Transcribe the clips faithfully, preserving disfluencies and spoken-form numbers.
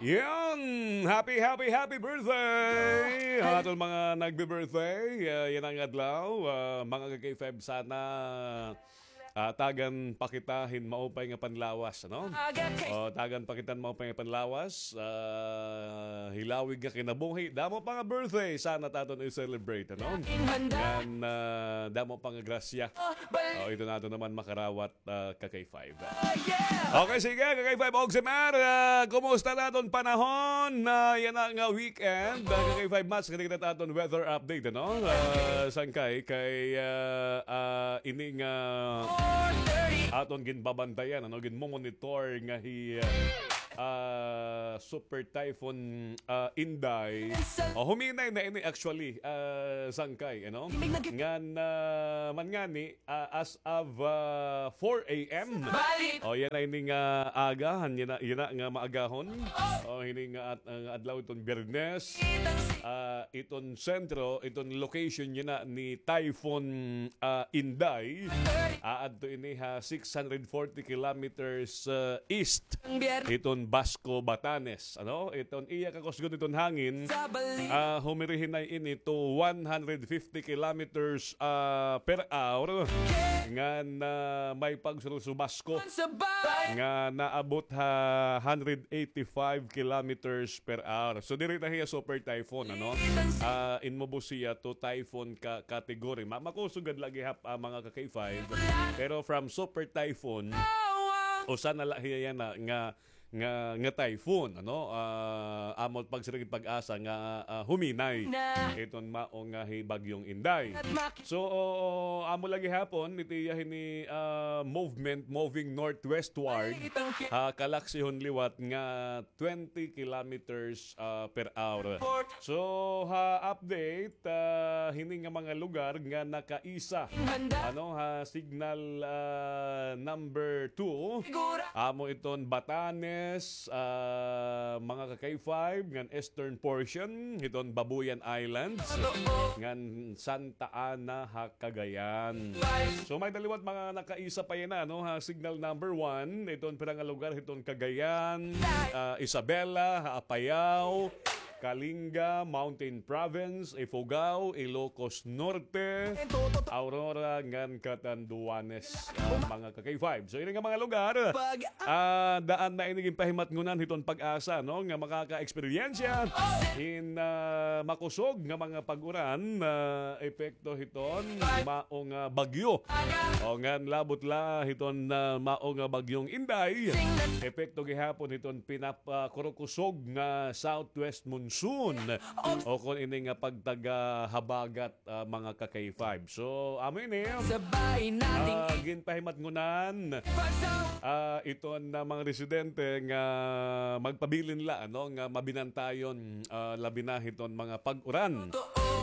Yan! Happy, happy, happy birthday! Aton mga nagbe-birthday, ah, yana nga adlaw, ah, mga ka-K five, sana, ah, tagan pa kita hin maupay nga panlawas, ano? O, tagan pa kita hin maupay nga panlawas, ah, hilawig nga kinabuhi. Damo pa nga birthday, sana ta aton i-celebrate, ano? Ngan, ah, damo pa nga grasya. O, ito na aton naman makarawat, ah, ka-K five. Okay, sige, ka-K five, Oximer, ah, kumusta na aton panahon? Ah, yana nga weekend, ah, ka-K five, mas kanina ta aton weather update, ano? Ah, sangkay, kay, ah, ah, ini nga aton ginbabantayan, ano, ginmomonitor nga hi, ah, ah, Super Typhoon, ah, Inday. O, huminay na ini actually, ah, sangkay, ano? Ngan, ah, man ngani, ah, as of, ah, four A M. O, yana ini nga aga, han yana, yana nga maagahon. O, hini nga at-, nga adlaw iton Biyernes. Ah, iton sentro, iton location yana ni Typhoon, ah, Inday. Aadto ini ha six hundred forty kilometers, ah, east hiton Basco, Batanes. Ano? Iton iya kakusgon iton hangin, ah, humirihinay ini to one hundred fifty kilometers, ah, per hour. Ngan may pagsurusubasko nga naabot ha hundred eighty-five kilometers per hour. So, diri na hiya super typhoon, ano? Ah, inmubos hiya to typhoon ka category. Ma-, makusog gad la gihap, ah, mga ka-K five. Pero from super typhoon, usa na la hiya yana nga, nga, nga typhoon, ano? Ah, amo pagsiring hit PAGASA nga, ah, huminay iton mao nga hi Bagyong Inday. So, amo la gihapon it iya hini, ah, movement, moving northwestward, ha kalaksihon liwat nga twenty kilometers, ah, per hour. So, ha update, ah, hini nga mga lugar nga nakaisa, ano, ha signal, ah, number two, amo iton Batanes, ah, mga ka-K five, ngan eastern portion hiton Babuyan Islands, ngan Santa Ana ha Cagayan. So, may-ada liwat mga nakaisa pa yana, no, ha signal number one, iton pira nga lugar hiton Cagayan, ah, Isabela, ha Apayao, Kalinga, Mountain Province, Ifugao, Ilocos Norte, Aurora, ngan Catanduanes, ah, mga ka-K five. So, ini nga mga lugar, ah, daan na ini ginpahimatngonan hiton PAGASA, no, nga makaka-eksperyensya hin, ah, makusog nga mga pag-uran, ah, epekto hiton mao nga bagyo. O, ngan labot la hiton, ah, mao nga Bagyong Inday, epekto gihapon hiton pinapakurukusog nga southwest monsoon, o kon ini nga pagtaga habagat, ah, mga ka-K five. So, amo ini, ah, ginpahimatngonan, ah, iton, ah, mga residente nga magpabilin la, ano, nga mabinantayon, ah, labi na hiton mga pag-uran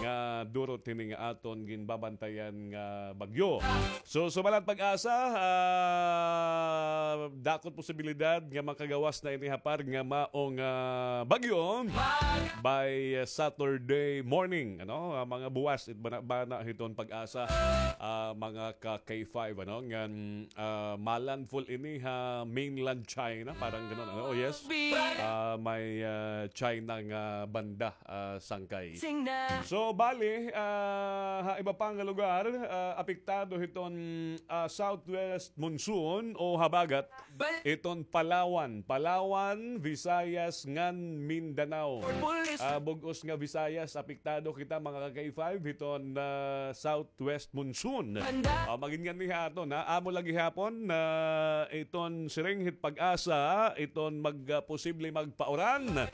nga durot hini nga aton ginbabantayan nga bagyo. So, subalit PAGASA, ah, dako it posibilidad nga makagawas na ini ha par nga mao nga bagyo by Saturday morning, ano? Ah, mga buwas it banabana hiton PAGASA, ah, mga ka-K five, ano? Ngan, ah, malandfall ini ha mainland China, parang ganon, ano? Oh, yes. Ah, may, ah, China nga banda, ah, sangkay. So, bali, ah, ha iba pa nga lugar, ah, apektado hiton, ah, southwest monsoon o habagat, iton Palawan, Palawan, Visayas, ngan Mindanao. Ah, bug-os nga Visayas, apektado kita, mga ka-K five, hiton, ah, southwest monsoon. Ah, magin nganhi ha aton, ha? Amo la gihapon, ah, iton siring hit PAGASA, iton mag, ah, posible magpauran.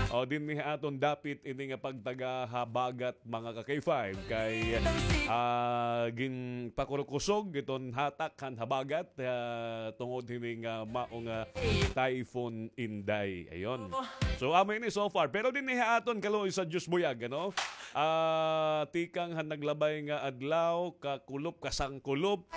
O, dinhi ha aton dapit ini nga pagtaga habagat, mga ka-K five, kay, ah, ginpakurukusog iton hatak han habagat, ah, tungod hini nga mao nga Typhoon Inday. Ayon. So, amo ini so far. Pero dinhi ha aton kaluoy sa Diyos buyag, ano? Ah, tikang han naglabay nga adlaw, kakulop, kasangkulop.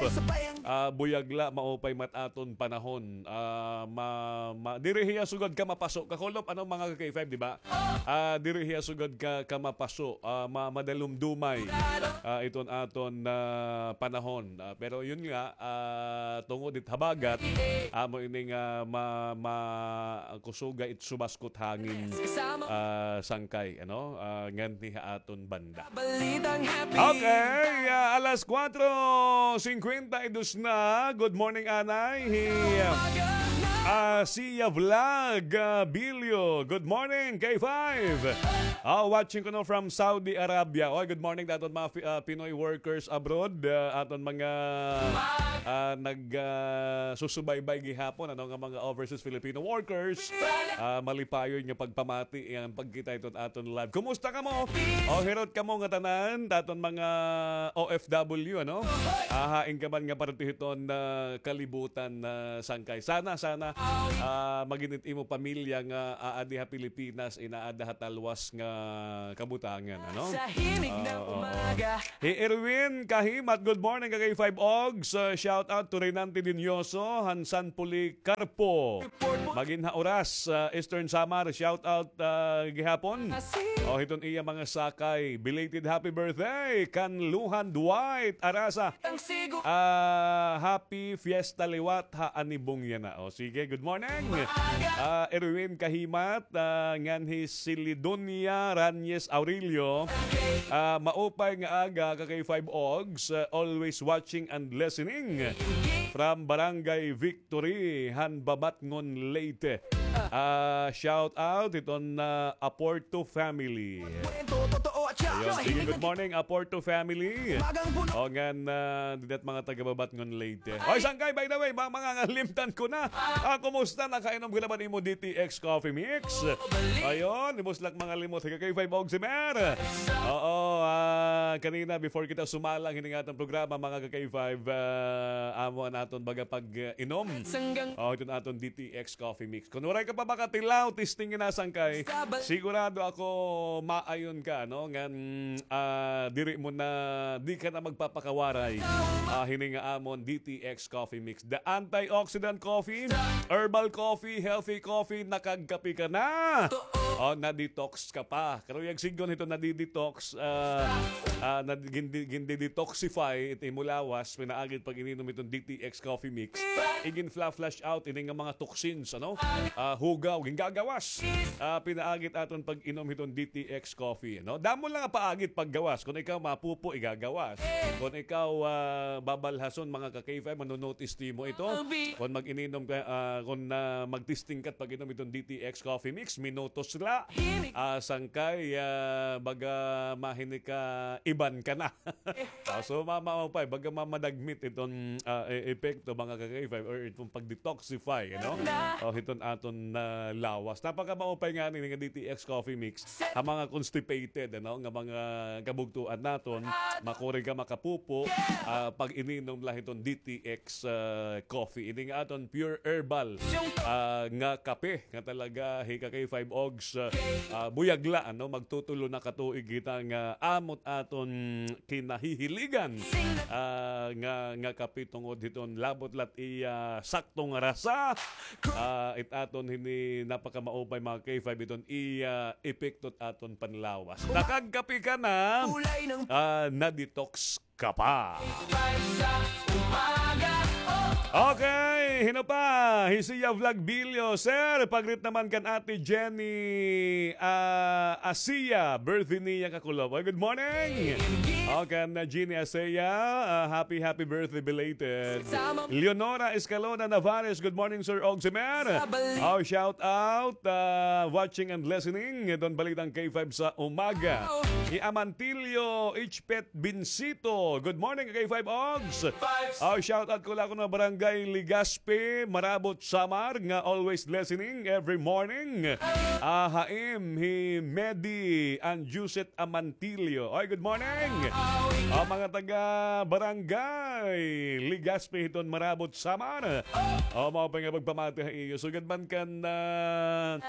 Ah, buyag la, maupay mat aton panahon. Ah, ma, ma, diri hiya sugad ka mapaso. Kakulop, ano, mga ka-K five, di ba? Ah, diri hiya sugad ka, ka mapaso. Ah, ma, madalumdumay. Ah, iton aton, ah, panahon. Ah, pero yun nga, ah, tungod it habagat, amo ini nga ma, ma, kusuga it subaskot hangin, ah, sangkay, ano? Ah, nganhi ha aton banda. Okay, ah, alas kuwatro singkwenta y dos na. Good morning, anay. Hi, ah, Sia Vlog, ah, Bilyo. Good morning, K five. Ah, watching kuno from Saudi Arabia. Oy, good morning, daton mga Fi-, ah, Pinoy workers abroad. Ah, aton mga, ah, nag, ah, susubaybay gihapon, ano, nga mga overseas Filipino workers. Ah, malipayon nga pagpamati, ang pagkita iton aton live. Kumusta kamo? O, hirot kamo nga tanan, daton mga O F W, ano? Ah, hain ka man nga parte hiton, ah, kalibutan, ah, sangkay. Sana, sana, ah, magin it imo pamilya nga aadi ha Pilipinas, inaada ha talwas nga kabutangan, ano? Sa himig ng Oo, oo. umaga. Hi Erwin Kahimat, good morning, ka K five Ogs. Uh, shout out to Renante Dinioso, han San Policarpo. Magin ha Oras, uh, Eastern Samar, shout out, uh, gihapon. O, hiton iya mga sakay. Belated happy birthday kan Luhan Dwight Arasa. Ah, happy fiesta liwat ha anibong yana. O, sige, good morning. Ah, Erwin Kahimat, ah, nganhi Silidonia Ranyes Aurelio. Ah, maupay nga aga, ka K five Ogs, ah, always watching and listening from Barangay Victory, han Babatngon, Leyte. Ah, shout out iton, ah, Aporto family. Ayun, sige, good morning, Aporto family. O, ngan, ah, dinat mga taga Babatngon, Leyte. Oy, sangkay, by the way, ma-, mga ngalimtan ko na. Ah, kumusta? Nakainom ka na ba nimo D T X Coffee Mix? Ayun, himuslak mga limot. Higa kay five og si Mer. Oo, ah, kanina, before kita sumalang, hining atong programa, mga ka K five, ah, amo an aton baga pag-inom. O, iton aton D T X Coffee Mix. Kon waray ka pa makatilaw, testing na sangkay. Sigurado ako maayon ka, no? Ngan, ah, diri mo na, di ka na magpapakawaray. Ah, hini nga amon D T X Coffee Mix. The antioxidant coffee, herbal coffee, healthy coffee, nakagkape ka na. O, na-detox ka pa. Karuyag sidngon hito, nadi-detox, ah, ah, nadi-, gindi-, gindi-detoxify it imo lawas, pinaagid pag ininom iton D T X Coffee Mix. Igin-fla-, flush out ini nga mga toxins, ano? Ah, hugaw, gingagawas. Ah, pinaagid aton pag-inom hiton D T X Coffee, no? Damo la nga paagid paggawas. Kon ikaw mapupo, igagawas. Kon ikaw, ah, babalhason, mga ka-K five, manonotice timo ito. Kon mag-ininom ka, ah, kon, ah, magtesting ka pag-inom iton D T X Coffee Mix, minutos la. Ah, sangkay, ah, baga mahini ka, iban ka na. Ah, so, ma-, maupay, baga mamadagmit iton, ah, e-, epekto, mga ka-K five, or iton pag-detoxify, you know? O, hiton aton, ah, lawas. Napakamaupay ngani nga D T X Coffee Mix ha mga constipated, ano, nga mga kabugtoan naton, makuri ka makapupo, ah, pag-ininom la hiton D T X, ah, coffee. Ini nga aton pure herbal, ah, nga kape nga talaga, hi ka kay five Ogs, ah, ah, buyag la, ano, magtutulo na ka tuig kita nga amot aton kinahihiligan, ah, nga, nga kape tungod hiton labot lat iya sakto nga rasa. Ah, it aton hini napakamaupay, mga K five, iton iya epekto it aton panlawas. Nakagkape ka na, ah, na-detox ka pa. Okay, hin-o pa? Hi Sia Vlog Bilyo. Sir, pag-greet naman kan Ate Jenny, ah, Asia, birthday niya kakulop. Oy, good morning. O, kan, ah, Jenny Asia, ah, happy, happy birthday belated. Leonora Escalona Navares, good morning, Sir Ogs and Mer. O, shout out, ah, watching and listening. Iton Balitang K five sa umaga. Hi Amantilio H Pet Binsito. Good morning, K five Ogs. O, shout out ko la kuno, Barangay Legazpi, Marabot, Samar, nga always listening every morning. Ah, ha im hi Medi and Josette Amantilio. Oy, good morning. Ah, mga taga Barangay Legazpi hiton Marabot, Samar. Oh, mao pa nga pagpamati ha iyo. Sugad man kan, ah,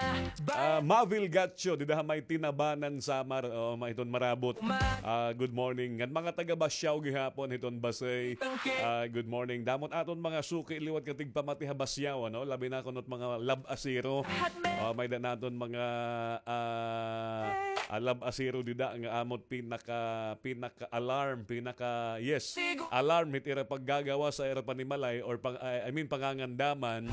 ah, Mavil Gatcho, dida ha may Tinabanan, Samar. Oh, ma-, hiton Marabot. Ah, good morning. Ngan mga taga Basiao gihapon hiton Basey. Ah, good morning. Damo it aton mga suki liwat nga tigpamati ha Basiao, ano? Labi na kuno it mga lab-asero. Ah, may-ada naton mga, ah, ah, lab-asero dida nga amo it pinaka, pinaka-alarm, pinaka, yes, alarm hit ira paggagawas ha ira panimalay or pang-, I, I mean, pangangandaman,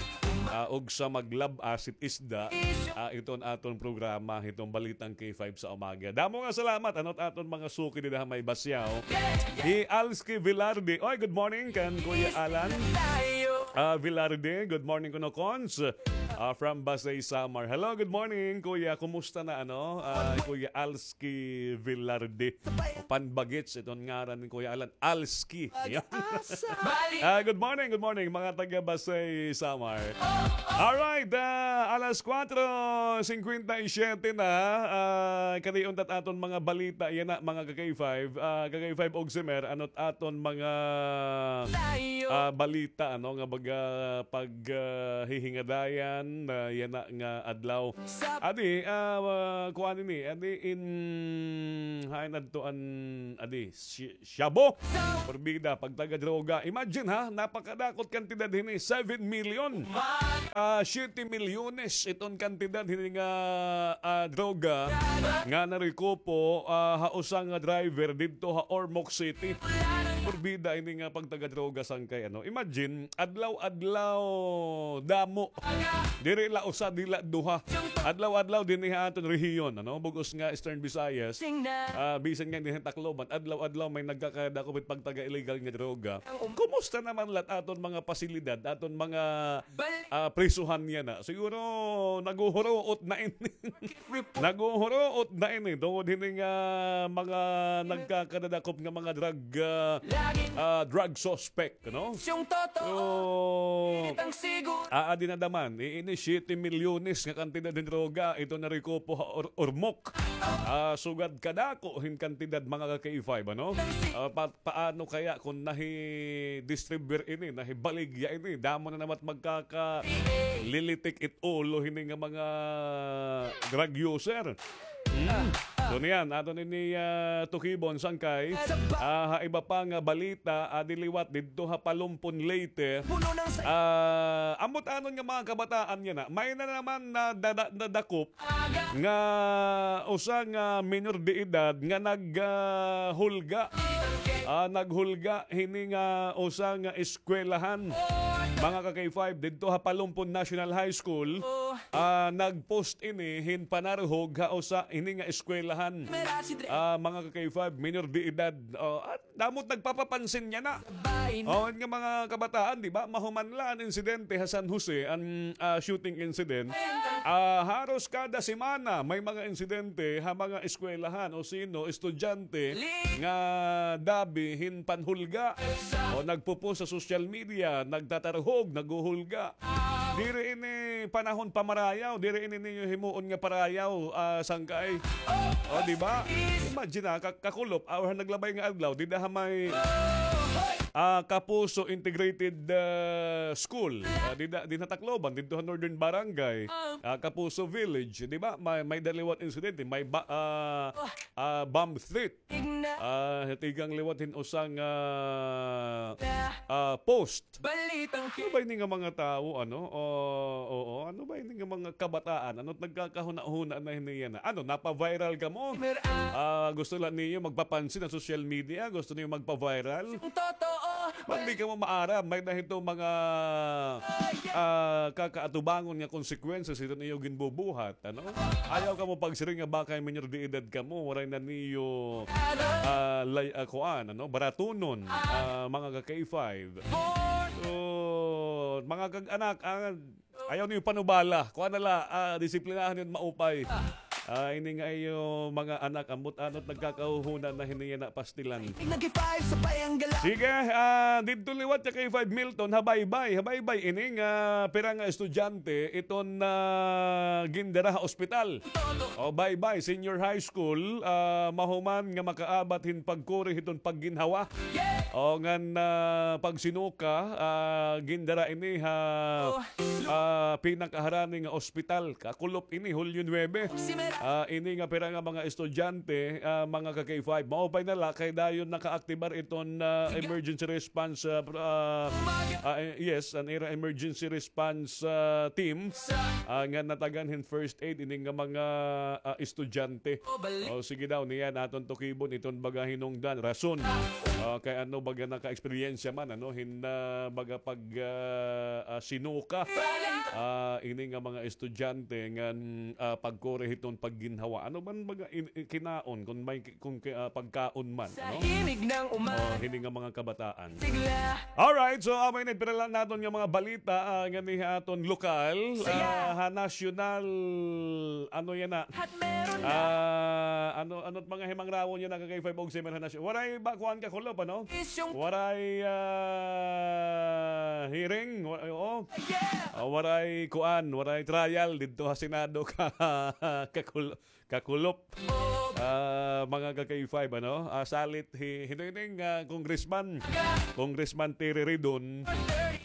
ah, ugsa maglab-as hit isda, ah, iton aton programa, hiton Balitang K five sa umaga. Damo nga salamat, ano, it aton mga suki dida ha may Basiao. Hi Alski Velarde. Oy, good morning kan Kuya Alan. Ah, Velarde, good morning kuno, Cons. Ah, from Basey, Samar. Hello, good morning, Kuya. Kumusta na, ano? Ah, Kuya Alski Velarde. Panbagits, iton ngaran ni Kuya Alan. Alski. Yan. Ah, good morning, good morning, mga taga Basey, Samar. Alright, ah, alas kuwatro singkwenta y siyete na. Ah, kadi unta it aton mga balita. Yana, mga ka-K five. Ah, ka-K five og Simer, ano it aton mga, ah, balita, ano, nga baga pag, ah, hihingadayan, ah, yana nga adlaw. Adi, ah, ah, kuan ini, adi in, hain adto an, adi, si-, Shabu. Porbida, pagtaga droga. Imagine ha, napakadako it kantidad hini, seven million. Ah, siyete milyones iton kantidad hini nga, ah, droga nga narekupo, ah, ha usa nga driver didto ha Ormoc City. Porbida ini nga pagtaga droga sangkay, ano. Imagine, adlaw-adlaw damo. Diri la usa, diri la duha. Adlaw-adlaw dinhi ha aton rehiyon, ano, bug-os nga Eastern Visayas. Ah, bisan nga dinhi ha Tacloban, adlaw-adlaw may nagkakadako hit pagtaga illegal nga droga. Kumusta naman la it aton mga pasilidad, aton mga, ah, prisuhan yana? Siguro naguhuruot na ini. Naguhuruot na ini tungod hini nga mga nagkakadadakop nga mga drug, ah, ah, drug suspect, no? So, aa, dinadaman, iini siyete milyones nga kantidad hin droga, ito narekupo ha Or-, Ormoc. Ah, sugad kadako hin kantidad, mga ka-K five, ano? Ah, pa-, paano kaya kung nahi-distribute ini, nahibaligya ini? Damo na naman magkakalilitik it ulo hini nga mga drug user. Hmm. So niyan, aton ini, ah, tukibon sangkay. Ah, ha iba pa nga balita, adi liwat didto ha Palumpon, Leyte. Ah, ambot-anon nga mga kabataan yana, may na naman nadada-, nadakop nga usa nga minor de edad nga nag, ah, hulga. Ah, naghulga hini nga usa nga eskwelahan. Mga ka-K five, didto ha Palumpon National High School, ah, nag-post ini hin panarhog ha usa ini nga eskwelahan. Ah, mga ka-K five, minor de edad. Oh, at damo it nagpapapansin yana. Oh, nga mga kabataan, di ba? Mahuman la an insidente ha San Jose, an, ah, shooting incident. Ah, haros kada semana may mga insidente ha mga eskwelahan o sino, estudyante nga dabi hin panhulga o nagpo-post sa social media, nagtatarhog, naghuhulga. Diri ini panahon pamarayaw, diri ini niyo himuon nga parayaw, ah, sangkay. O, di ba? Imagine, ah, ka-, kakulop, ah, or naglabay nga adlaw, dida ha may, ah, Kapuso Integrated, ah, School. Ah, dida, dinha Tacloban, didto ha Northern Barangay, ah, Kapuso Village, di ba? May, may-ada liwat insidente, may ba-, ah, ah, bomb threat. Ah, tigang liwat hin usa nga, ah, post. Ano ba ini nga mga tawo, ano? O, oo, ano ba ini nga mga kabataan? Ano nagkakahuna-huna na hini yana? Ano, napa-viral kamo? Ah, gusto la niyo magpapansin ha social media? Gusto niyo magpa-viral? Pag di kamo maaram, may-ada hito mga, ah, kakaatubangon nga consequences hiton iyo ginbubuhat. Ano? Ayaw kamo pagsiring nga bakay minor de edad kamo, waray na niyo, ah, lay-, ah, kuan, ano, baratunon, ah, mga ka-K five. So, mga kag-anak, ah, ayaw niyo panubala. Kuan na la, ah, disiplinahon niyo maupay. Ah, ini nga iyo mga anak, ambot ano't nagkakahuhunan na hini yana pastilan. Sige, ah, didto liwat ka K five Milton, ha Baybay, ha Baybay ini nga pira nga estudyante iton, ah, gindara ha ospital. O, Baybay Senior High School, ah, mahuman nga makaabat hin pagkuri hiton pagginhawa. O, ngan, ah, pagsinuka, ah, gindara ini ha, ah, pinakaharani nga ospital. Kakulop ini, Hulyo nuebe. Ah, ini nga pira nga mga estudyante, ah, mga ka K five. Maupay na la kay dayon nakaaktibar iton, ah, emergency response, ah, pr-, ah, ah, eh, yes, an ira emergency response, ah, team, ah, nga natagan hin first aid ini nga mga, ah, estudyante. O, sige daw, niyan aton tukibon iton baga hinungdan, rason. Ah, kay ano baga naka-eksperyensya man, ano, hin, ah, baga pag, ah, ah, sinuka. Ah, ini nga mga estudyante ngan, ah, pagkuri hiton pagginhawa. Ano man baga in-, in-, kinaon, kung may, kung ki-, ah, pagkaon man, ano? O, hini nga mga kabataan. Alright, so, amo ini, pira la naton nga mga balita, ah, ngani ha aton lokal, ah, ha nasyonal, ano yana? Ah, ano, ano't mga himangrawon yana ka K five og Semer ha nasyon? Waray ba kuan kakulop, ano? Waray, ah, hearing, wa-, oo. Ah, waray kuan, waray trial didto ha Senado ka, kakul-, kakulop. Ah, mga ka K five, ano? Ah, salit hi-, hino ini nga congressman, Congressman Terry Ridon.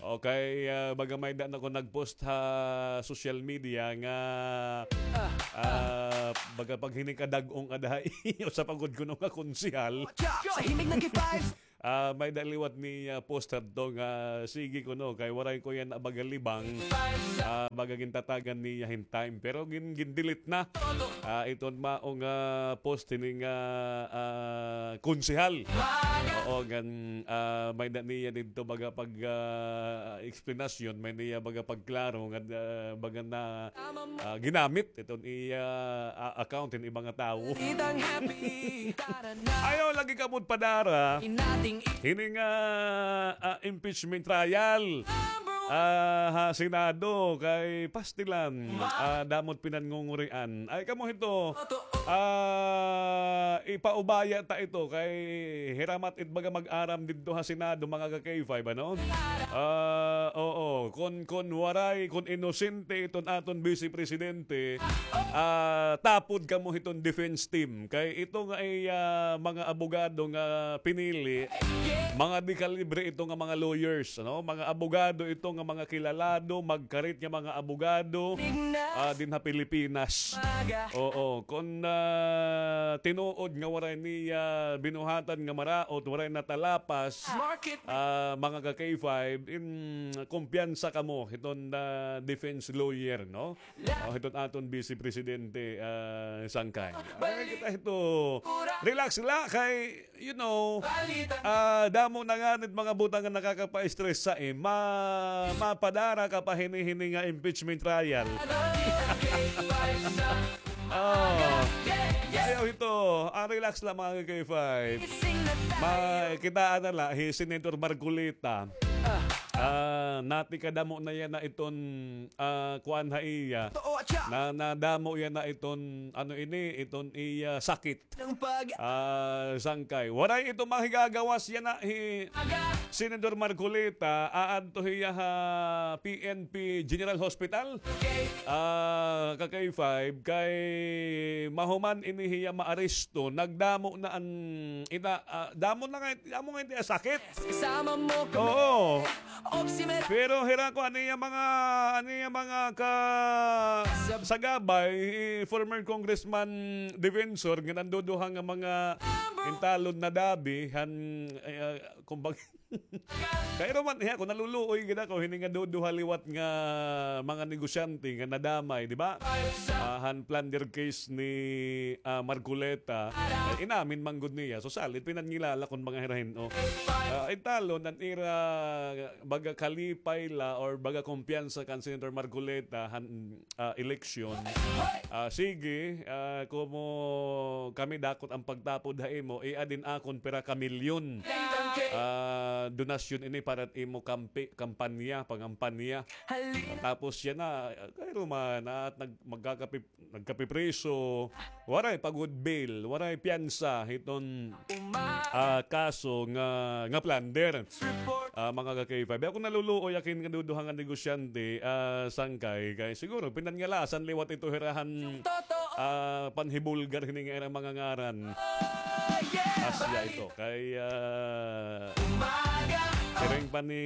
Okay, ah, baga may-ada na ko nag-post ha social media nga, ah, baga pag hini ka dag-ong ada ha iyo, usa pa gud kuno nga konsehal. Ah, may-ada liwat niya post hadto nga sige kuno kay waray ko yana baga libang. Ah, baga gintatagan niya hin time pero gin-, gin-delete na. Ah, iton mao nga post hini nga, ah, konsehal. Oo, ngan, ah, may-ada niya didto baga pag, ah, eksplanasyon, may niya baga pagklaro nga, ah, baga na, ah, ginamit iton iya, ah, account hin iba nga tawo. Ayaw lagi kamo padara hini nga, ah, impeachment trial, ah, ha Senado kay pastilan, ah, damo't pinanngungurian. Ay kamo hito, ah, ipaubaya ta ito kay hiramat it baga mag-aram didto ha Senado, mga ka K five, ano? Ah, oo, kon, kon waray, kon inosente iton aton Vice Presidente, ah, tapod kamo hiton defense team. Kay ito nga ay, ah, mga abogado nga pinili, mga dekalibre ito nga mga lawyers, ano? Mga abogado ito nga mga kilalado, magkarit nga mga abogado, ah, din ha Pilipinas. Oo, kon, ah, tinuod nga waray niya binuhatan nga maraot, waray natalapas, ah, mga ka K five, in, kumpiyansa kamo hiton, ah, defense lawyer, no? O, hiton aton Vice Presidente, ah, Sangkay. Ay, kita hito. Relax la kay, you know, ah, damo na nganit mga butang nga nakakapa-stress sa im-, ma-, mapadara ka pa hini-hini nga impeachment trial. Oh. Ayaw hito. Ah, relax la, mga K five. Makitaan na la hi Senator Marcoleta. Ah, natikadamo na yana iton, ah, kuan ha iya. Na, nadamo yana iton, ano ini, iton iya sakit. Ah, Sangkay. Waray ito mahigagawas yana hi Senador Marcoleta, aadto hiya ha P N P General Hospital. Ah, ka K five, kay mahuman ini hiya maaresto, nagdamo na an ina, ah, damo na nga, damo nga it iya sakit. Oo. Pero hira ko, an iya mga, an iya mga ka-, sagabay, former Congressman Defensor, nga nanduduha nga mga intalon na dabi, han, eh, ah, kumbaga, kairo man, iya, kung naluluoy gid ako, hini nga duduha liwat nga mga negosyante nga nadamay, di ba? Ah, han plunder case ni, ah, Marcoleta, eh, inamin man gud niya. So, salit, pinangilala kon mga hirahin, oh. Ah, intalon, an ira, baga kalipay la or baga kumpiyansa kan Senator Marcoleta, han, ah, eleksyon. Ah, sige, ah, komo kami dakot an pagtapod ha imo, iadin akon pira ka milyon. Ah, ah, donasyon ini para it imo kampi, kampanya, pangampanya. Tapos yana, ah, kay Roman, at nag-, magkakapi-, nagkapipriso, waray pa gud bail, waray piyansa hiton, ah, kaso nga, nga plunder. Ah, mga ka-K five. Ako naluluoy ak hin kaduduha nga negosyante, ah, Sangkay. Kay siguro, pinangalasan liwat ito hira han, ah, panhibulgar hini nga ira mga ngaran. Asya ito. Kay, ah, siring pa ni,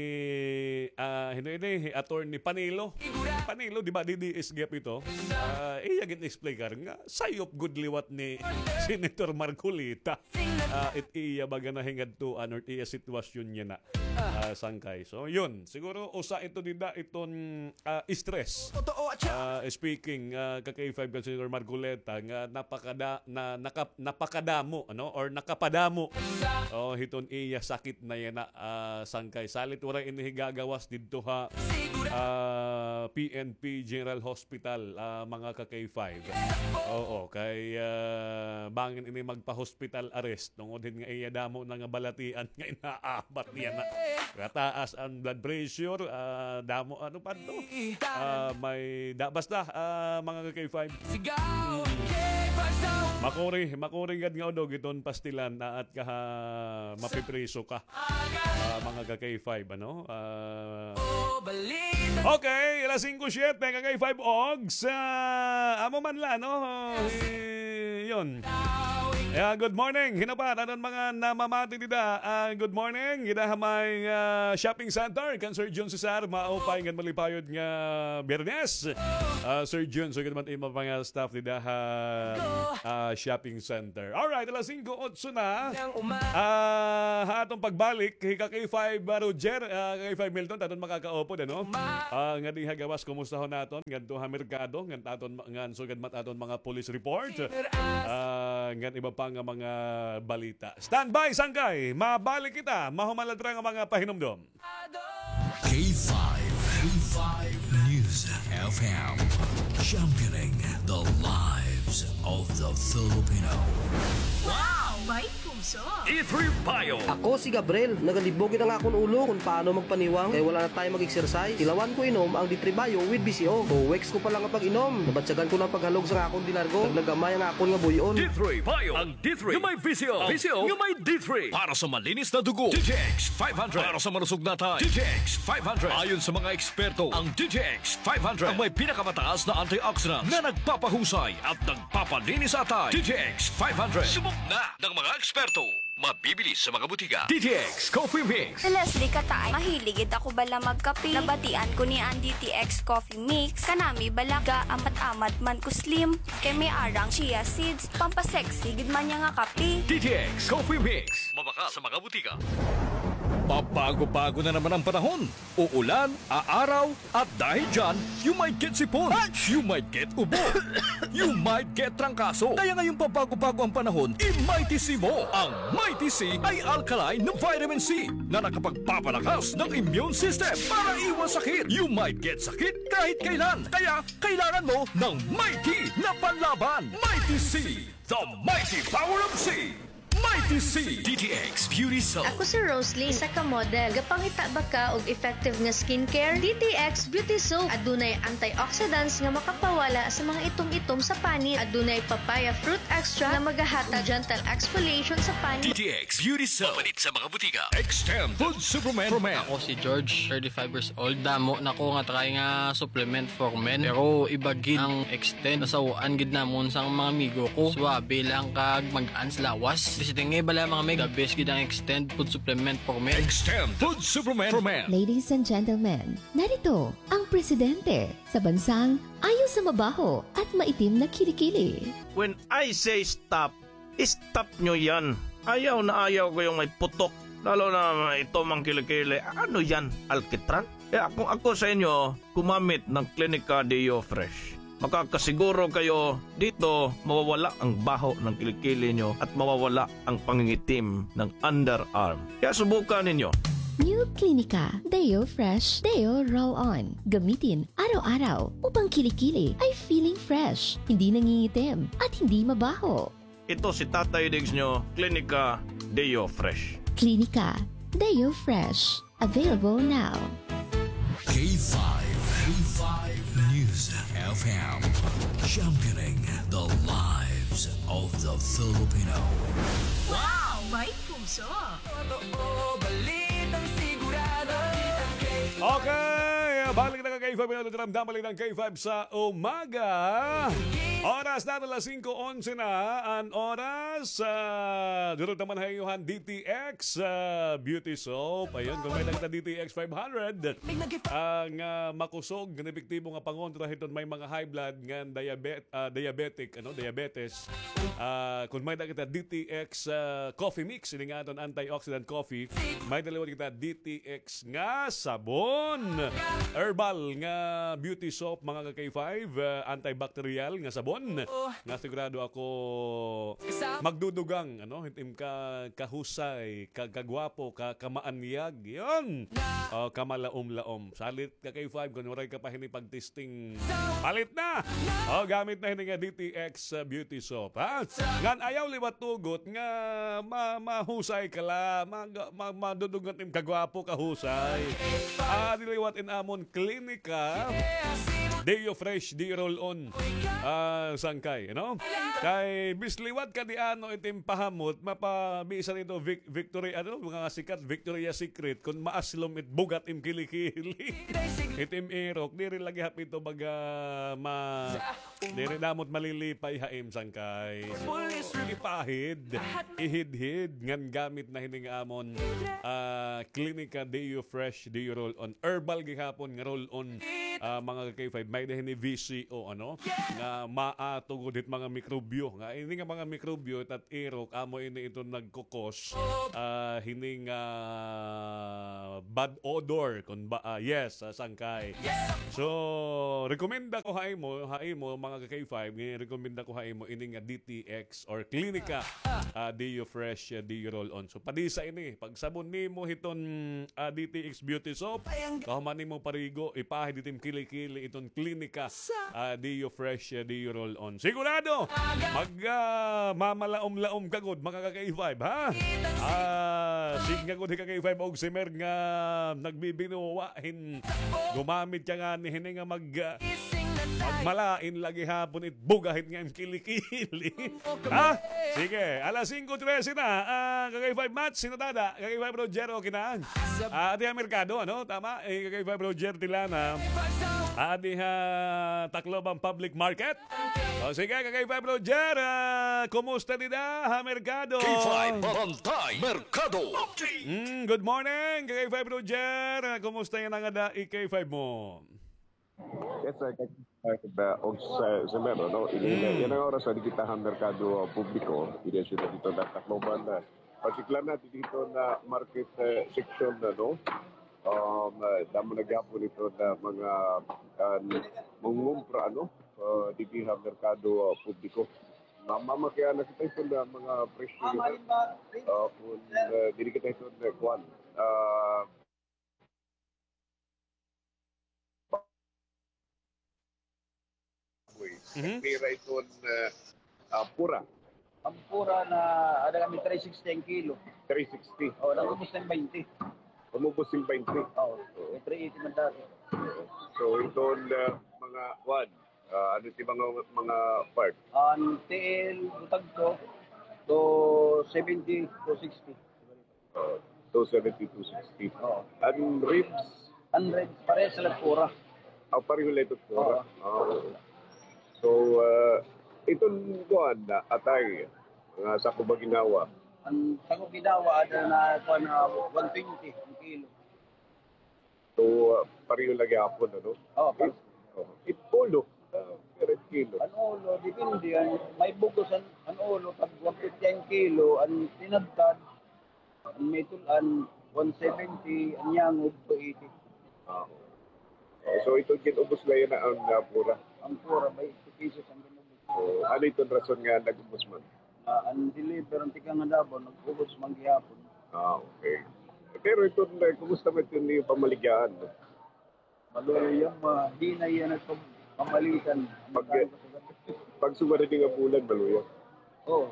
ah, hino ini, Attorney Panelo. Panelo, di ba, D D S gihap ito? Ah, iya gin-explicar nga, sayop gud liwat ni Senator Marcoleta. Ah, it iya baga nahingadtuan or it iya sitwasyon niya na, ah, Sangkay. So, yun. Siguro, usa ito dida iton, ah, stress. Ah, speaking, ah, ka-K five kan Senator Marcoleta, nga napakada-, na, naka-, napakadamo, ano? Or nakapadamo, oh, hiton iya sakit na yana, ah, Sangkay. Salit waray ini higagawas didto ha, ah, P N P General Hospital, ah, mga ka-K five. Oo, kay, ah, bangin ini magpa-hospital arrest. Tungod hin nga iya damo na nga balatian nga inaabat niya na. Kataas an blood pressure, ah, damo, ano pa to? Ah, may da-, basta, ah, mga ka-K five. Makuri, makuri gad nga udog iton pastilan, aat ka ha, mapipriso ka. Ah, mga ka-K five, ano? Ah, okay, alas singko siyete, ka-K five, og sa amo man la, no? Eh, yun. Yeah, good morning. Hinapat aton mga namamati dida. Ah, good morning. Dida ha may, ah, shopping center kan Sir Jun Cesar. Maupay ngan malipayod nga Biyernes. Ah, Sir Jun, sugad man imo mga staff dida ha, ah, shopping center. Alright, alas singko otso na. Ah, ha aton pagbalik, hi ka-K five, ah, Roger, ah, ka-K five Milton, aton makakaupod, ano? Ah, ngadi ha gawas, kumustahon naton ngadto ha merkado, ngan aton, ngan sugad man aton mga police report. Ah, ngan iba pa nga mga balita. Standby, Sangkay. Mabalik kita. Mahuman la dira nga mga pahinumdom. K five, K five News F M, championing the lives of the Filipino. Wow! May puso! D three Bio. Ako si Gabriel. Nagalibog it ang akon ulo kon paano magpaniwang kay wala na tayo mag-exercise. Tilawan ko inom ang D three Bio with B C O. Two weeks ko pa lang nga pag-inom, nabatyagan ko na ang paghalog sang akon dinargo. Naglagamay ang akon nga buy-on. D three Bio. Ang D three nga may V C O. V C O nga may D three. Para sa malinis na dugo, D T X five hundred. Para sa malusog na atay, D T X five hundred. Ayon sa mga eksperto, ang D T X five hundred ang may pinakamataas na antioxidant na nagpapahusay at nagpapalinis sa atay. D T X five hundred. Subok na ng mga eksperto. Mabibili sa mga butika. D T X Coffee Mix. Si Leslie Kataay, mahilig gid ako bala magkape. Nabatian ko niya an D T X Coffee Mix. Kanami bala, gaamat-amat man ko slim. Kay may arang chia seeds, pampasexy gid man niya nga kape. D T X Coffee Mix. Mabakal sa mga butika. Pabago-bago na naman ang panahon. Uulan, aaraw, at dahil dyan, you might get sipon. You might get ubo. You might get trangkaso. Kaya ngayong pabago-bago ang panahon, i-Mighty C mo. Ang Mighty C ay alkaline na vitamin C na nakapagpapalakas ng immune system para iwas sakit. You might get sakit kahit kailan. Kaya kailangan mo ng Mighty na panlaban. Mighty C, the mighty power of C. Mighty C. D T X Beauty Soap. Ako si Roslyn, isa ka model. Gapangita ba ka og effective nga skincare? D T X Beauty Soap. Adunay antioxidants nga makapawala sa mga itom-itom sa panit. Adunay papaya fruit extract nga magahatag gentle exfoliation sa panit. D T X Beauty Soap. Mapalit sa mga butika. Extend Food Supplement for Men. Ako si George, thirty-five years old. Damo na ko nga try nga supplement for men. Pero iba gid ang Extend. Nasaw-an gid namon sang mga amigo ko. Suwabe lang kag mag-an sa lawas. Basta nga bala mga meg, the best gid ang Extend Food Supplement for Men. Extend Food Supplement for Men. Ladies and gentlemen, narito ang presidente sa bansang ayaw sa mabaho at maitim na kilikili. When I say stop, stop nyo yan. Ayaw na ayaw ko yung may putok. Lalo na itom ang kilikili. Ano yan? Alkitran? Kaya kung ako sa inyo, gumamit ng Clinica Deo Fresh. Makakasiguro kayo dito mawawala ang baho ng kilikili nyo at mawawala ang pangingitim ng underarm. Kaya subukan ninyo. New Clinica Deo Fresh Deo Roll On. Gamitin araw-araw upang kilikili ay feeling fresh, hindi nangingitim, at hindi mabaho. Ito si Tatay Diggs nyo, Clinica Deo Fresh. Clinica Deo Fresh. Available now. K five, K five News F M, championing the lives of the Filipino. Wow! May puso! Totoo, balitang sigurado. Okay, balik na ka K five, Pinoy Ramdam, balitang K five sa umaga. Oras na, alas singko onse na an oras. Ah, durog naman ha iyo han D T X, ah, Beauty Soap. Ayun, kon may-ada kita D T X five hundred, ang, ah, makusog, nga epektibo nga pangontra hiton may mga high blood, nga diabet-, ah, diabetic, ano, diabetes. Ah, kon may-ada kita D T X, ah, coffee mix, ini nga aton antioxidant coffee, may-ada liwat kita D T X nga sabon. Herbal nga beauty soap, mga ka-K five, ah, antibacterial nga sabon. Nga sigurado ako magdudugang, ano, hit im ka, kahusay, ka, kagwapo, ka, kamaanyag. Yun. O, kamalaom-laom. Salit ka K five, kon waray ka pa hini pag-testing, palit na! O, gamit na hini nga D T X, uh, beauty soap, ha? Ngan ayaw liwat tugot nga ma-, mahusay ka la, mag-, ma-, madudugang im kagwapo, kahusay. Adi liwat in amon klinika, Deo Fresh, Deo Roll On, ah, sangkay, ano? Kay bis liwat ka di ano it im pahamot, mapa-, bisan ito Vic-, Victory, ano, mga sikat, Victoria's Secret, kon maaslom it bug-at im kilikili. It im irok, diri lagi hapit ito baga ma-, diri namot malilipay ha im sangkay. So, ipahid, ihidhid, ngan gamit na hini nga amon, ah, Klinika Deo Fresh, Deo Roll On. Herbal gihapon nga roll on, ah, mga ka-K five. May-ada hini V C O, ano? Nga maatugod hit mga mikrobyo. Nga ini nga mga mikrobyo, it irok, amo ini ito nagkukos, ah, hini nga bad odor, kon ba, ah, yes, ah, sangkay. So, rekomenda ko ha imo, ha imo, mga ka-K five, nga rekomenda ko ha imo, ini nga D T X or Klinika, ah, Deo Fresh, ah, Deo Roll On. So, padisa ini, pagsabon nimo hiton, ah, D T X Beauty Soap, kahuman nimo parigo, ipahid it im kilikili iton Klinika, ah, Deo Fresh, ah, Deo Roll On. Sigurado, mag, ah, mamalaom-laom ka gud, mga ka-K five, ha? Ah, sige gud, hi ka-K five og si Mer nga nagbibinuwa hin gumamit ka ngani hini nga mag, ah, magmalain lagi hapon it bug-at nga im kilikili. Ha? Sige, alas singko trese na. Ah, ka-K five Mats, sino tada? Ka-K five Roger, okay na? Ah, adi ha merkado, ano? Tama? Eh, ka-K five Roger Tilana. Adi ha Tacloban Public Market. O, sige, ka-K five Roger, ah, kumusta dida ha merkado? K five Bantay Merkado. Mm, good morning, ka-K five Roger. Ah, kumusta yana ngada K five mo? Yes, sir. Kay, uh, og sa, sa meron, no? Ini, mm, yana nga oras, adi kita ha merkado, uh, publiko, ini siyudad hito nga Tacloban, uh, partikular na didto ha market, uh, section na, no? Um, uh, damo na gihapon ito nga mga, uh, mangungumpra, no? Uh, didi ha merkado, uh, publiko. Ma-, mamakiana kita hito nga mga presyo nito. Uh, kun, uh, diri kita hito nga kuan. Uh, Uy, mhm. Pira iton, ah, ah, pura? An pura na, ada kami three sixty an kilo. Three sixty. O, nag-ubos na hin twenty. Umubos hin twenty. Oo, oo. May three eighty man dati. So, iton, ah, mga, kuan, ah, ano it mga, mga part? An tiil, butag to, two seventy, two sixty. Oh, two seventy, two sixty. Oo. An ribs? An ribs, parehas la pura. Ah, pareho la ito pura. Oo. Ah, oo. So, ah, iton kuan na atay, mga sako ba ginhawa? An sako ginhawa, ada na kuan na one twenty an kilo. So, ah, pareho la gihapon, ano? Oo, pa- It, oh, it ulo, ah, per kilo. An ulo, depende. An, may bug-os an, an ulo, tag one fifty an kilo, an tinadtad, an may tul-an, one seventy, an yangod, two eighty. Ah, oo. Oh, so, ito gin-ubos la yana an, ah, pura? An pura, twenty pesos an gin-ubos. Oh, ano iton rason nga nag-ubos man? Ah, an deliver, an tikang ha Davao, nag-ubos man gihapon. Ah, okay. Pero iton, eh, kumusta man iton iyo pamaligyaan, no? Maluya, mahina yana pag-, pamalitan. Pag, pagsugad hini nga bulan, maluya? Oo.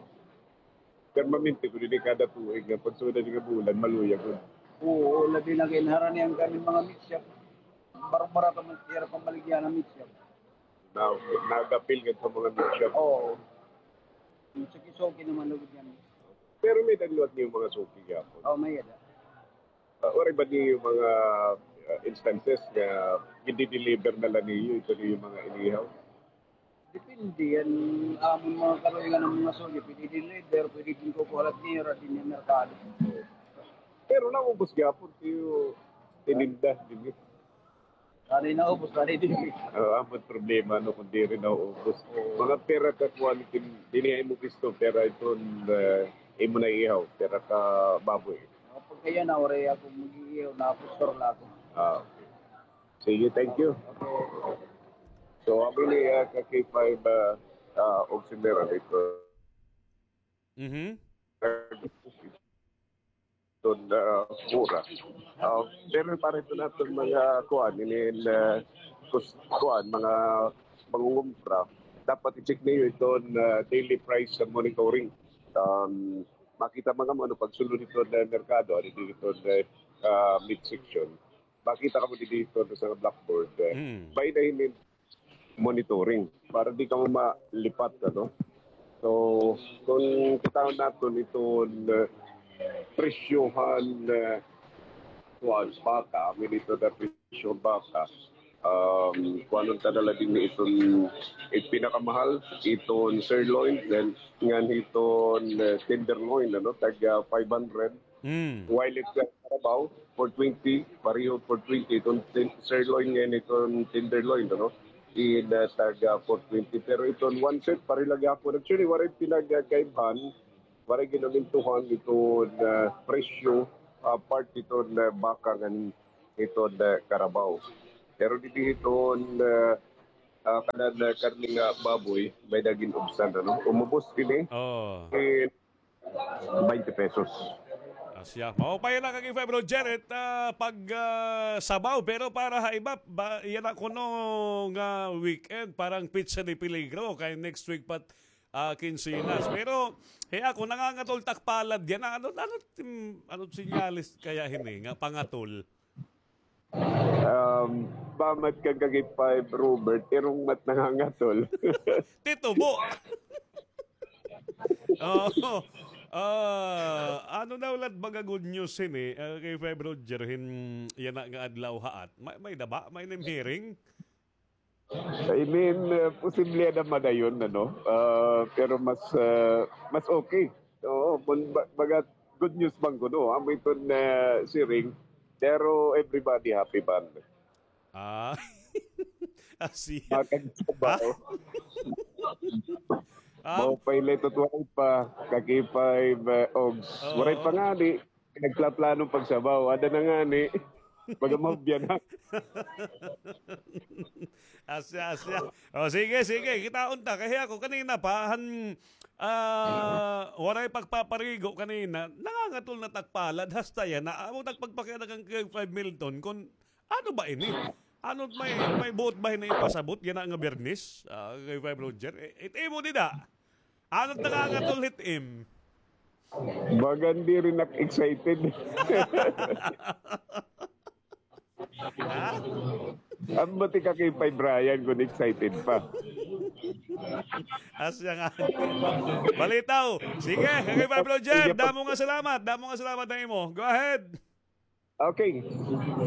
Permanente gud ini, kada tuig nga pagsugad hini nga bulan, maluya gud. Oo, labi na kay naharanian kami mga meat shop. Barbara ka man, tira pamaligya na meat shop. Na, nagapil ka sa mga meat shop. Oo. Suki-suki naman lugod yan. Pero may-ada liwat niyo mga suki gihapon? Oo, may-ada. Ah, waray ba niyo mga, ah, instances nga gidi-deliver na la niyo ito niyo mga inihaw? Depende yan. Amon mga kaluoy nga mga suki, pwede deliver, pwede din kukuha la niyo, ra din yung merkado. Pero naubos gihapon tiyo tininda, di ba? Ari naubos, ari di. Ah, amon problema, no, kung diri naubos. Oo. Mga pira ka kuan, din-, dinhi imo gusto, pira iton, ah, imo na ihaw, pira ka baboy. Mga pagkaya na, waray ako mag-iihaw, napustor la ako. Ah, okay. Sige, thank you. Okay. So, abi ni, ah, ka K five, ah, ah, og sendera dito. Mhm. Ton, ah, mura. Ah, pero para ito natin mga kuan, inin, ah, kus-, kuan, mga mangungumpra, dapat i-check niyo iton, ah, daily price sa monitoring. Um, makita mga ano, pagsulod ito na merkado, ano dito na, ah, meat section. Makita kamo dito sa blackboard. Eh. Mm. By the monitoring para di kamo malipat, ano? So, kung kita naton iton, eh, presyohan, eh, kuan, baka, amin ito na presyo baka, um, kuanon ta na la din iton, eh, pinakamahal, iton sirloin, then ngan iton, eh, tenderloin, ano, tag, ah, five hundred. Mm. While it, uh, karabaw, four twenty, pareho four twenty, iton tin-, sirloin ngan iton tenderloin, ano? In, uh, tag, uh, four twenty. Pero iton one set, pareho la gihapon. Actually, waray pinagkaibhan, waray ginamintuhan iton, uh, presyo, uh, part iton, uh, baka ngan iton, uh, karabaw. Pero didi iton, uh, uh, kanan, uh, karne nga baboy, may-ada gin-ubsan, ano? Umubos din, eh. Oo. In twenty pesos. Asya. Maupay na kag five, Bro Jared, ah, pag, ah, sabaw, pero para ha iba, ba, yana kuno nga weekend, parang petsa de peligro, kay next week pa, ah, kinsenas. Pero, he, ako, nangangatol tak palad yana. Ano, ano, tim-, ano sinyalis kaya hini, nga pangatol? Um, ba mat ka kag five, Robert, irong mat nangangatol. Titubo. Oo. Ah, ano daw lat baga good news hini, ah, kay five Roger hin yana nga adlaw haat? May, may-ada ba? May name hearing? I mean, uh, posible na madayon, ano? Uh, pero mas, uh, mas okay. Oo, kun ba-, baga good news man kuno, amo iton, uh, siring. Pero everybody happy man. Ah. Ah, siya. Makagsabaw. Ah? Maupay la ito, waray pa. Kag five, uh, Ogs. Oo. Waray pa ngani. Nagplaplano pagsabaw. Ada na ngani. Baga mahubyan na. Asya, asya. O, sige, sige. Kitaon ta. Kay ako kanina pa, han, ah, waray pagpaparigo kanina. Nangangatol na tak palad. Hasta yana. Amo tak pagpakiana kan Kuya Five Milton. Kun ano ba ini? Ano may, may buot ba hini ipasabot yana nga Biyernes? Ah, kay Five Roger. Eh, it imo dida. Ano nangangatol hit im? Bagan diri nak excited. Ha? An batika kay Pay Brian kun excited pa. Asya nga. Balitaw. Sige, kay Pablo Jeff, damo nga salamat. Damo nga salamat na imo. Go ahead. Okay.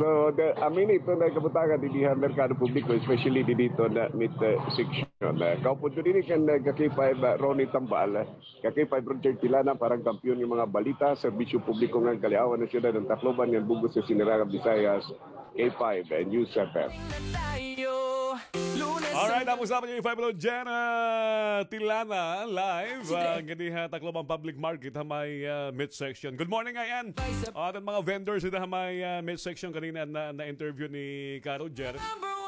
So, the, amin ito na kabutangan didi ha merkado publiko, especially didi ito na meat, uh, section. Uh, kaupod ko didi kan, uh, ka K five, uh, Ronnie Tambal. Ka K five Roger Tilana para han kampiyon nga mga balita, serbisyo publiko ngan kaliawan han syudad han Tacloban ngan bug-os nga Sinirangan Visayas, K five News F M. Alright, tapos dapat yung K five Roger, ah, Tilana, live, ah, ngadi ha Tacloban Public Market, ha may, ah, meat section. Good morning, Ayan. Aton mga vendors dida ha may, ah, meat section kanina na, na-interview ni Ka Roger.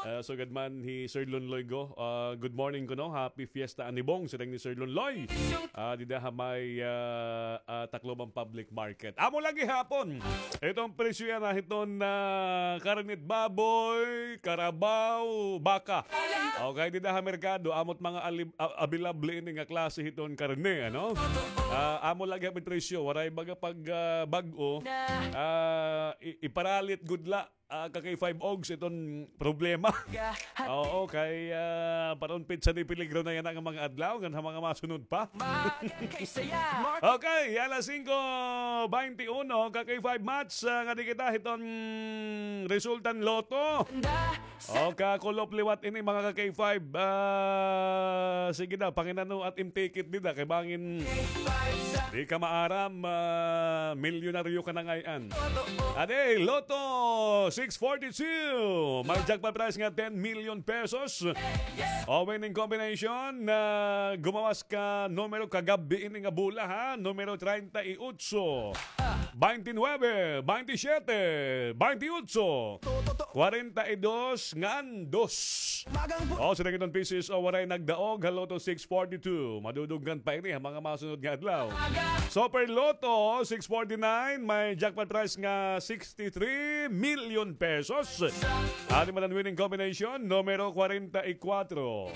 Ah, sugad man hi Sir Lunloy Go. Ah, good morning kuno. Happy Fiesta Anibong, siring ni Sir Lunloy. Ah, dida ha may, ah, ah, Tacloban Public Market. Amo la gihapon iton presyo yana hiton, ah, karne it baboy, karabaw, baka. Okay, dida ha merkado, amo it mga alib-, a-, available ini nga klase hiton karne, ano? Ah, amo la gihapon it presyo, waray baga pag, ah, bag-o, ah, i-, iparalit gud la, ah, ka K five Ogs iton problema. Oo, kay, ah, para unpit sa di peligro na yana nga mga adlaw, ngan ha mga masunod pa. Okay, alas singko baynte uno, ka K five Mats, ah, ngadi kita hiton resulta han Lotto. O, kakulop liwat ini, mga ka K five. Ah, sige daw, panginano it im ticket dida, kay bangin di ka maaram, ah, milyonaryo ka na ngay-an. Adi, Lotto six forty-two. May jackpot prize nga ten million pesos. O, winning combination na gumawas ka numero kagab-i ini nga bola, ha? Numero treinta y ocho, baynte nuebe, baynte siyete, baynte ocho, kwarenta y dos ngan dos. O, siring iton P C S O, waray nagdaog ha Lotto six forty-two. Maduduggan pa ini ha mga masunod nga adlaw. Super Lotto six forty-nine, may jackpot prize nga sixty-three million pesos. Adi man an winning combination, numero kwarenta y kwatro,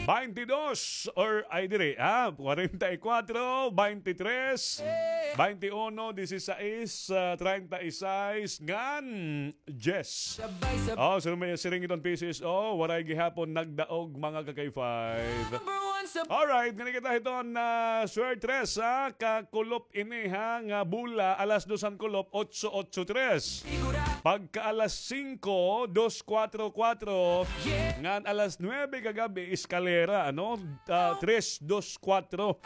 baynte dos, or, ay, diri, ah, kwarenta y kwatro, baynte tres, baynte uno, disisais, ah, treinta y seis, ngan diyes. O, siring, siring iton P C S O, waray gihapon nagdaog, mga ka K five. Alright, ngani kita hiton, ah, Suertres, ha? Kakulop ini, ha, nga bola, alas dos han kulop, otso otso tres. Pagka alas singko, dos kwatro kwatro. Ngan alas nuebe kagab-i, eskalera, ano? Ah, tres dos kwatro.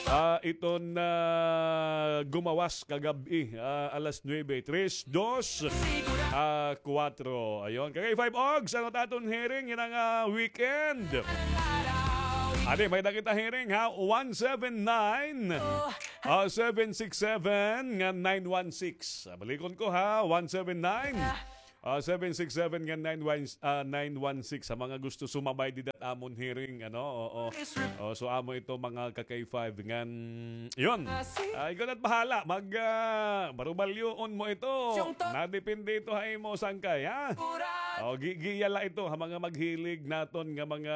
Ah, iton, ah, gumawas kagab-i, ah, alas nuebe, tres, dos, ah, kwatro. Ayon. Ka K five Ogs, ano it aton hearing yana nga weekend? Adi, may-ada kita hearing, ha, one seven nine, ah, seven six seven ngan nine one six. Ah, balikon ko, ha, one seven nine, ah, seven six seven ngan nine one, ah, nine one six. Sa mga gusto sumabay dida ha amon hearing, ano, oo. O, so amo ito, mga ka K five, ngan, yun. Ah, ikaw na't bahala. Mag, ah, barubalyoon mo ito. Nadepende ito ha imo, sangkay, ha? O, gi-, giya la ito ha mga maghilig naton nga mga,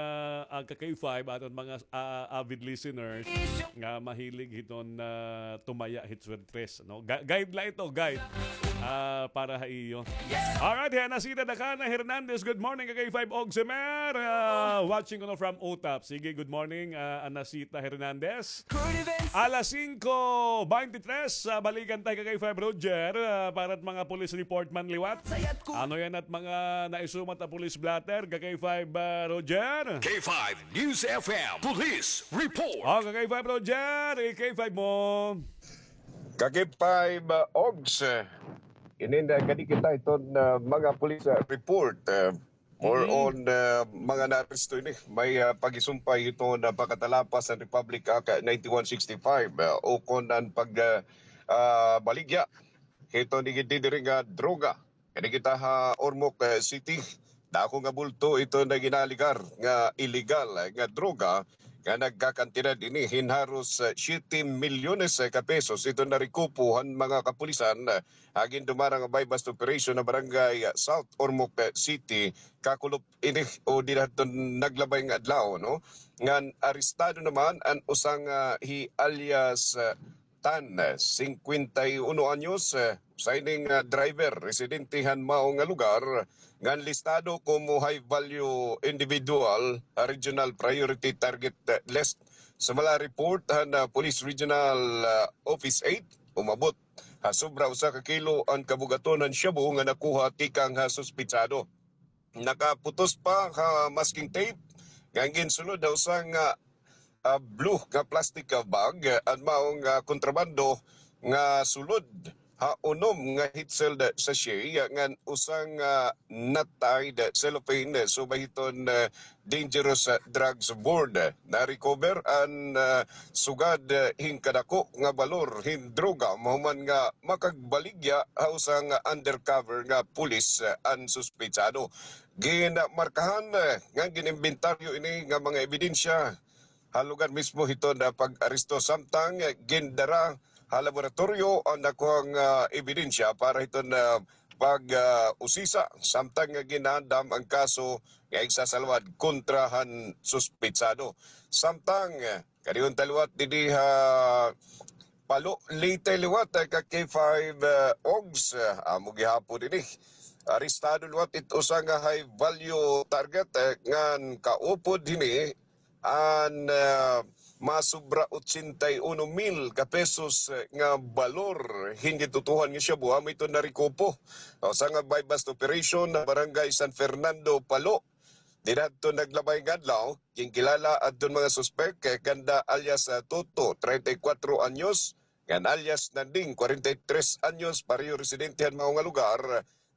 ah, ka K five, aton mga, ah, avid listeners nga mahilig hiton, ah, tumaya hit Suertres, no? Ga-, guide la ito, guide. Ah, para ha iyo. Alright, hi Anacita Dakana Hernandez, good morning, ka K five Ogs Emer. Ah, watching kuno from Utap. Sige, good morning, ah, Anacita Hernandez. Alas singko baynte tres, ah, balikan ta hi ka K five Roger, ah, para it mga police report man liwat. Ano yana it mga naisumat ha police blotter, ka K five, ah, Roger? K five News F M Police Report. O, ka K five Roger, i-K five mo. Ka K five, ah, Ogs, eh, inin, ah, ngadi kita hiton, ah, mga police, ah, report, ah, more on, ah, mga naaresto ini. May, ah, pagisumpay hiton, ah, pakatalapas han Republic Act, ah, ninety-one sixty-five, ah, ukon an pag, ah, ah, baligya hiton igid didi nga droga. Ngadi kita ha Ormoc, eh, City, dako nga bulto iton nga ginaaligar nga illegal, eh, nga droga nga nagkakantidad ini hin haros, eh, siyete milyones, eh, ka pesos iton narekupo han mga kapulisan, eh, ha gindumarang buy-bust operation ha barangay, eh, South Ormoc, eh, City, kakulop ini o dida hiton naglabay nga adlaw, no? Ngan arestado naman an usa nga hi alias, eh, Tan, singkwenta y uno anyos, eh, usa ini nga driver, residente han mao nga lugar, ngan listado komo high value individual, ah, regional priority target, eh, list. Sumala ha report han, ah, Police Regional, ah, Office eight, umabot ha sobra usa ka kilo an kabug-aton han shabu nga nakuha tikang ha suspetsado. Nakaputos pa ha masking tape nga ginsulod ha usa nga, ah, blue nga plastic, ah, bag, ah, an mao nga kontrabando nga sulod ha unom nga hitsel sachet ngan usa nga knotted cellophane, subay hiton, ah, dangerous, ah, drugs board. Na-recover an, ah, sugad, ah, hin kadako nga balor hin droga mahuman nga makagbaligya ha usa nga undercover nga pulis, ah, an suspetsado. Ginmarkahan, ah, ngan gin-imbentaryo ini nga mga ebidensya ha lugar mismo hiton, ah, pag-aresto samtang, ah, gindara ha laboratoryo an nakuhang, ah, ebidensya para hiton, ah, pag, ah, usisa samtang nga ginaandam an kaso nga igsasalwad kontra han suspetsado. Samtang, ah, kadiyot ta liwat didi ha Palo, Leyte liwat, ah, ka K five, ah, Ogs, ah, amo gihapon ini. Arestado liwat it usa nga high value target, ah, ngan kaupod hini an, ah, masobra ochenta y uno mil ka pesos, eh, nga balor hin gitutuohan nga shabu, amo iton narekupo. Usa nga buy-bust operation ha Barangay San Fernando, Palo. Dida hadton naglabay nga adlaw, ginkilala adton mga suspek, eh, kanda alias, ah, Toto, treinta y cuatro anyos, ngan alias Nanding, kwarenta y tres anyos, pareho residente han mao nga lugar,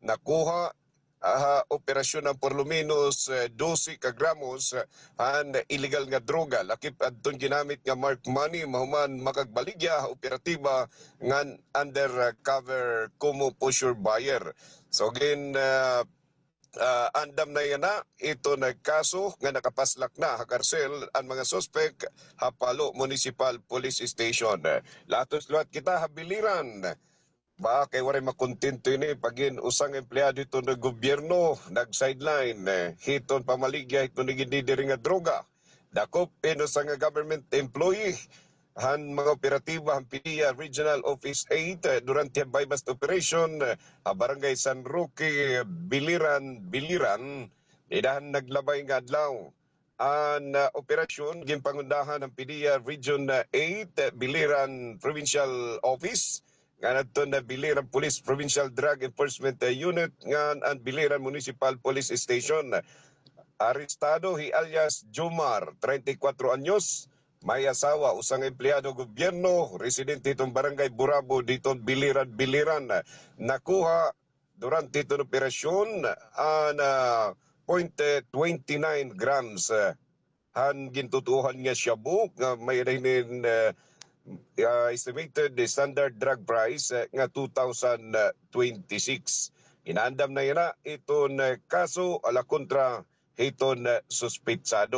nakuha, ah, ha operasyon an por lo menos, eh, dose ka gramos, eh, han illegal nga droga. Lakip adton ginamit nga marked money, mahuman makagbaligya ha operatiba ngan undercover komo poseur buyer. So, gin, ah, ah, andam na yana iton kaso nga nakapaslak na ha karsel an mga suspek ha Palo Municipal Police Station. Latos liwat kita ha Biliran. Ba, kay waray makontento ini, pag-in usa nga empleyado hiton gobyerno nag-sideline, eh, hiton pamaligya hiton gin-deliver nga droga. Dakop hin usa nga government employee han mga operatiba han PDEA Regional Office eight, eh, durante han buy-bust operation, eh, ha Barangay San Roque, Biliran, Biliran, dida han naglabay nga adlaw. An, ah, operasyon ginpangundahan han PDEA Region, ah, eight, ah, Biliran Provincial Office, ngan adton, ah, Biliran Police Provincial Drug Enforcement, ah, Unit, ngan an Biliran Municipal Police Station. Arestado hi alias Jomar, treinta y cuatro anyos, may asawa, usa nga empleyado gobyerno, residente hiton Barangay Burabo, diton Biliran, Biliran. Nakuha durante hiton operasyon an, ah, point twenty nine grams, ah, han gintutuohan nga shabu nga may-ada hinin, ah, ah, estimated standard drug price, ah, nga two thousand twenty-six. Ginaandam na yana iton, ah, kaso ala kontra hiton, ah, suspetsado.